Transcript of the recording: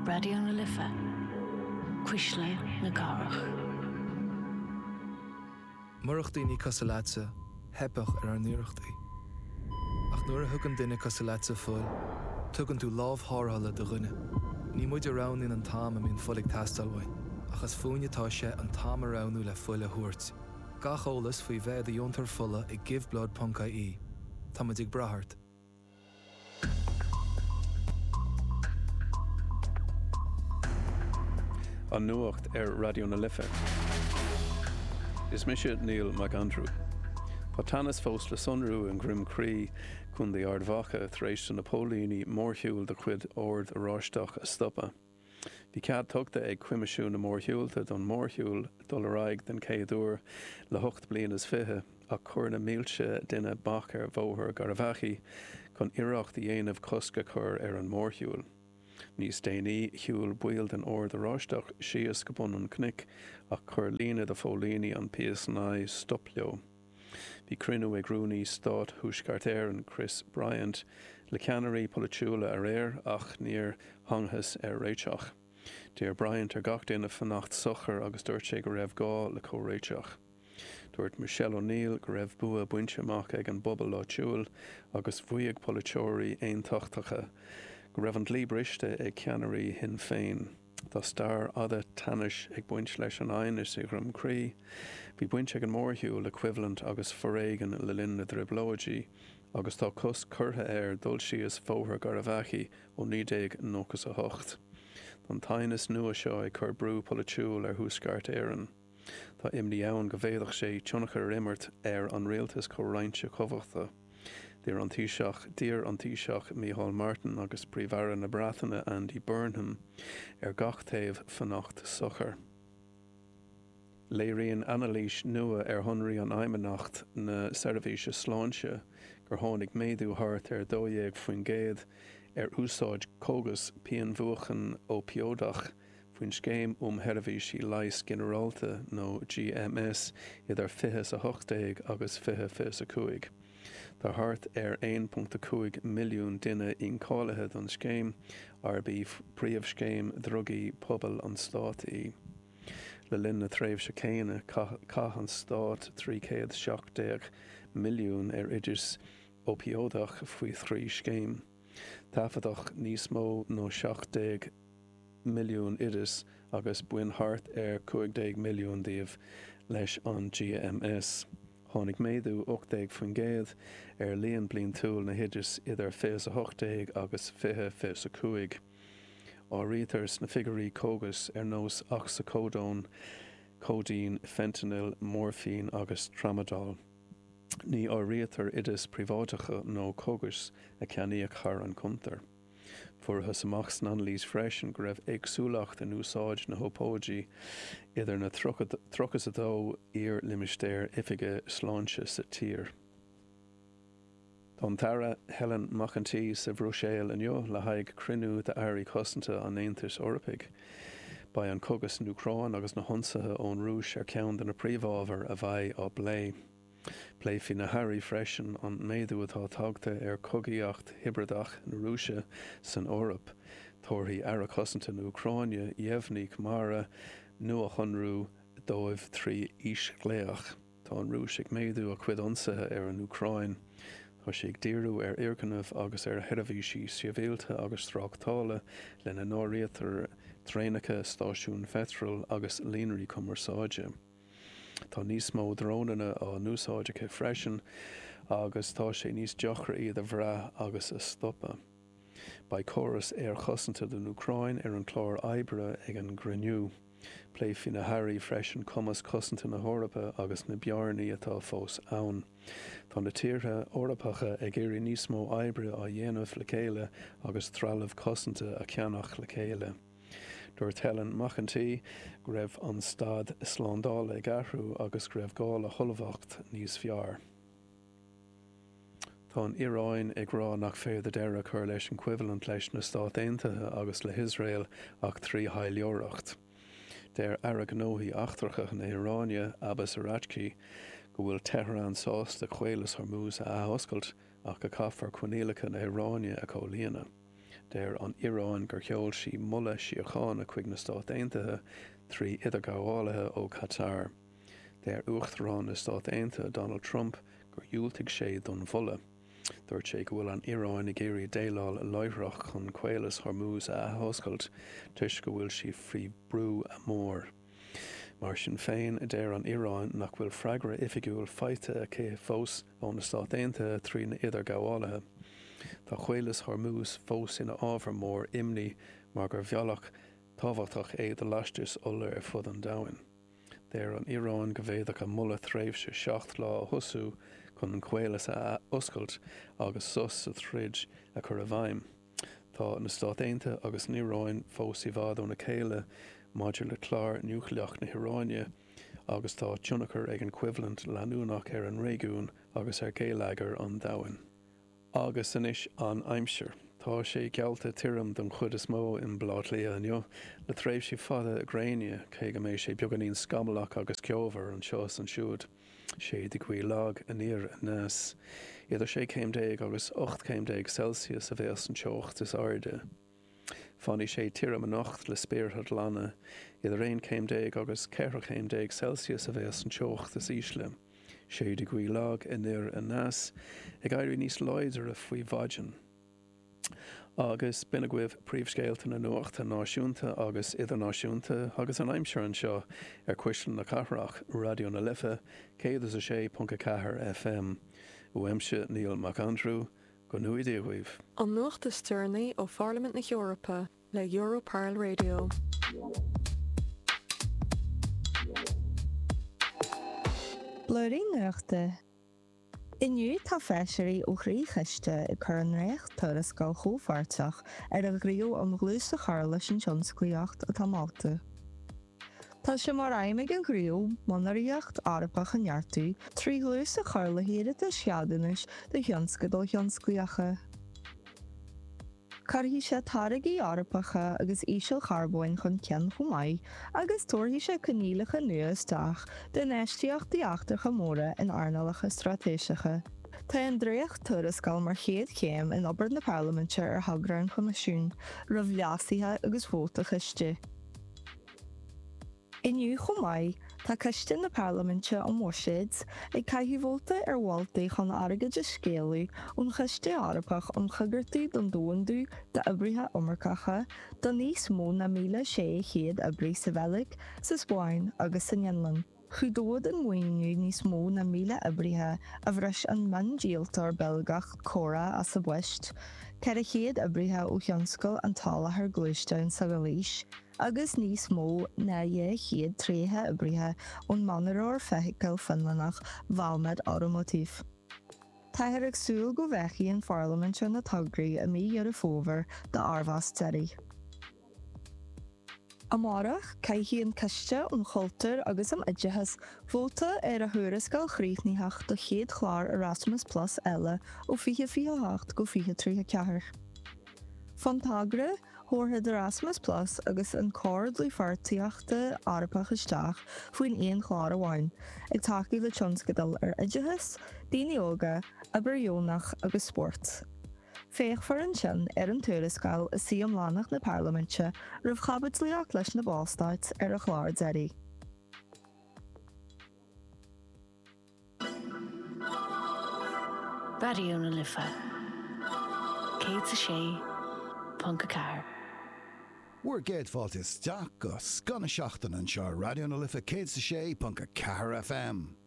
Raidió na Life, Cuisle na Cathrach. Murach daoine cosúil leatsa, theipfeadh ar ár n-iarrachtaí. Ach nuair a thugann duine cosúil leatsa fuil, tugann tú lámh tharrthála do dhuine. Ní muid a roghnaíonn an t-am a mbíonn fuil ag teastáil uainn, ach is fúinn atá sé an t-am a roghnú le fuil a thabhairt. Gach eolas faoi bheith i do dheontóir fola ag giveblood.ie. Táimid ag brath ort. An Nuacht ar Raidió na Life. Is mise Neil Mac Aindriú. Tá teannas fós le sonrú i nDroim Crí, Co. Ard Mhacha, tar éis do na póilíní mórshiúl de chuid Ord Oráisteach a stopadh. Bhí cead tugtha ag Coimisiún na Mórshiúlta don mhórshiúl dul ar aghaidh den chéad uair le hocht bliana is fiche ach chuir na mílte duine bac ar Bhóthar Gharbhachaidh chun iarracht a dhéanamh cosc a chur ar an mórshiúl. Níos déanaí, shiúil baill den Ord Oráisteach síos go bun an chnoic ach chuir líne de phóilíní an PSNI stop leo. Bhí cruinniú ag Rúnaí Stáit Thuaisceart Éireann, Chris Bryant, le ceannairí polaitiúla aréir ach níor thángthas ar réiteach. D'iarr Bryant ar gach duine fanacht socair agus dúirt sé go raibh gá le comhréiteach. Dúirt Michelle O'Neill go raibh bua bainte amach ag an bpobal áitiúil agus mhaígh polaiteoirí aontachtacha go raibh an dlí briste ag ceannairí Shinn Féin. Tá stair fhada teannais ag baint leis an aighneas i Dhroim Crí. Bhí baint ag an mórshiúl le coimhlint agus foréigean le linn na dTrioblóidí agus tá cosc curtha air dul síos Bhóthar Gharbhachaidh ó 1998. Tá an t-aighneas nua seo ag cur brú polaitiúil ar Thuaisceart Éireann. Tá imní ann go bhféadfadh sé tionchar a imirt ar an rialtas comhroinnte cumhachta. D'iarr an Taoiseach d'iarr an Taoiseach Micheál Martin agus Príomh-Aire na Breataine Andy Burnham ar gach taobh fanacht socair. Léiríonn anailís nua ar shonraí an Fheidhmeannacht na Seirbhíse Sláinte gur tháinig méadú thart ar 12% ar úsáid cógas pianmhúchan óipióideach faoin Scéim um Sheirbhísí Leighis Ginearálta, nó GMS, idir 2018 agus 2025. Tá thart ar 1.5 milliún duine incháilithe don scéim, arb í príomhscéim drugaí pobail an stáit í. Le linn na tréimhse céanna, chaith an stát 317 milliún ar oideas óipióideach faoi thrí scéim. Taifeadadh níos mó ná 17 milliún oideas agus bhain thart ar 15 milliún díobh leis an GMS. Tháinig méadú 18% ar líon bliantúil na n-oideas idir 2018 agus 2025. Áirítear sna figiúirí cógais ar nós ocsacódón, cóidín, feintinil, moirfín agus tramadol. Ní áirítear oidis phríobháideacha nó cógais a ceannaíodh thar an gcuntar. Fuarthas amach san anailís freisin go raibh éagsúlacht in úsáid na n-ópóidí idir na 32 iar-limistéar oifige sláinte sa tír. Tá an tAire Helen McEntee sa Bhruiséil inniu le haghaidh cruinniú d'Airí Cosanta an Aontais Eorpaigh. Beidh an cogadh san Úcráin agus na hionsaithe ón Rúis ar cheann de na príomhábhair a bheidh á bplé. Pléifidh na hairí freisin an méadú atá tagtha ar chogaíocht hibrideach na Rúise san Eoraip. Tabharfaidh Aire Cosanta na Úcráine, Yevhenii Khmara, nuashonrú dóibh trí fhísghlaoch. Tá an Rúis ag méadú a cuid ionsaithe ar an Úcráin. Tá sí ag díriú ar fhoirgnimh agus ar sheirbhísí sibhialta agus tráchtála, lena n-áirítear traenacha, stáisiúin pheitril agus líonraí cumarsáide. Tá níos mó drónanna á n-úsáid aici freisin agus tá sé níos deacra iad a bhrath agus a stopadh. Beidh córas aerchosanta don Úcráin ar an chlár oibre ag an gcruinniú. Pléifidh na hairí freisin cumas cosanta na hEorpa agus na bearnaí atá fós ann. Tá na tíortha Eorpacha ag iarraidh níos mó oibre á dhéanamh le chéile agus trealamh cosanta a cheannach le chéile. Dúirt Helen McEntee go raibh an staid slándála ag athrú agus go raibh gá le hullmhacht níos fearr. Tá an Iaráin ag rá nach féidir deireadh a chur leis an choimhlint leis na Stáit Aontaithe agus le hIosrael ach trí thaidhleoireacht. Deir Aire Gnóthaí Eachtracha na hIaráine, Abbas Araghchi, go bhfuil Tehran sásta Caolas Hormuz a athoscailt ach go caithfear coinníollacha na hIaráine a chomhlíonadh. Deir an Iaráin gur sheol sí moladh síochána chuig na Stáit Aontaithe trí idirghabhálaithe ó Qatar. Deir Uachtarán na Stát Aontaithe Donald Trump gur dhiúltaigh sé don mholadh. Dúirt sé go bhfuil an Iaráin ag iarraidh déileáil láithreach chun Caolas Hormuz a athoscailt toisc go bhfuil sí faoi bhrú mór. Mar sin féin, deir an Iaráin nach bhfuil freagra oifigiúil faighte aici fós ó na Stáit Aontaithe trína idirghabhálaithe. Tá Caolas Hormuz fós ina ábhar mór imní mar gur bhealach tábhachtach é do lastais ola ar fud an domhain. Deir an Iaráin go bhféadfadh a moladh tréimhse 7 lá a thosú chun an caolas a athoscailt agus sos sa troid a chur i bhfeidhm. Tá na Stáit Aontaithe agus an Iaráin fós i bhfad óna chéile maidir le clár núicléach na hIaráine agus tá tionchar ag an choimhlint leanúnach ar an réigiún agus ar gheilleagar an domhain. Agus anois an aimsir. Tá sé geallta tirim don chuid is mó i mBaile Átha Cliath inniu, le tréimhsí fada gréine, cé go mbeidh sé beagáinín scamallach agus ceomhar anseo is ansiúd. Séidfidh gaoth lag aniar aneas. Idir 16 céim agus 18 céim Celsius a bheas an teocht is airde. Fanfaidh sé tirim anocht le spéartha glana. Idir 11 céim agus 14 chéim Celsius a bheas an teocht is ísle. Séidfidh gaoth lag anoir aneas, ag éirí níos láidre faoi mhaidin. Agus b'in agaibh príomhscéalta na nuachta náisiúnta agus idirnáisiúnta agus an aimsir anseo ar Cuisle na Cathrach, Raidió na Life 106.4 FM. Uaimse Niall Mac Aindriú, go ngnóthaí Dia dhaoibh. An nuacht is deireanaí ó Pharlaimint na hEorpa le Europarl Radio. Blúirín Nuachta. Inniu tá feisirí ó thrí choiste ag cur a ndréacht-tuarascáil chomhpháirteach ar an ghníomh um dhlús a chur leis an tionsclaíocht atá molta. Tá sé mar aidhm ag an ghníomh monaraíocht Eorpach a neartú trí dhlús a chur le hiarratais cheadúnais do thionscadail thionsclaíocha. Cuirfidh sé táirgí Eorpacha agus ísealcharbóin chun cinn chomh maith agus tabharfaidh sé coinníollacha nua isteach d'infheistíochtaí eachtracha móra in earnálacha straitéiseacha. Tá an dréacht-tuarascáil mar chéad chéim in obair na Parlaiminte ar thogra an Choimisiúin, roimh leasuithe agus vóta coiste. Inniu chomh maith, tá Coiste na Parlaiminte um Bhuiséid ag caitheamh vóta ar mholtaí chun airgead a scaoileadh ón Chiste Eorpach um Choigeartú don Domhandú d'oibrithe iomarcacha do níos mó ná 1,600 oibrí sa Bheilg, sa Spáinn agus san Fhionlainn. Chuideodh an maoiniú níos mó ná 1,000 oibrithe a bhris an miondíoltóir Beilgeach Cora as a bpoist, 400 oibrithe ó thionscal an tsoláthair gluaisteán sa Ghailís, agus níos mó ná 230 oibrithe ón monaróir feithicle Fionlannach Valmet Automotive. Táthar ag súil go bhféachfaidh an Pharlaimint ar na tograí i mí Dheireadh Fómhair d'fhormheas deiridh. Amárach, caithfidh an Coiste um Chultúr agus um Oideachas vóta ar a thuarascáil chríochnaitheach do chéad chlár Erasmus Plus eile ó 2028 go 2034. Fán togra, thabharfadh Erasmus Plus agus an Cór Dlúthpháirtíochta Eorpach isteach faoin aon chlár amháin, ag tacú le tionscadail ar oideachas, daoine óga, obair dheonach agus spórt. Féachfar ansin ar an tuarascáil i suí iomlánach na Parlaiminte roimh chaibidlíocht leis na Ballstáit ar an chlár deiridh. Raidió na Life 106.4. Bhur gcéad fáilte isteach go scoth na seachtaine anseo ar Raidió na Life 106.4 FM.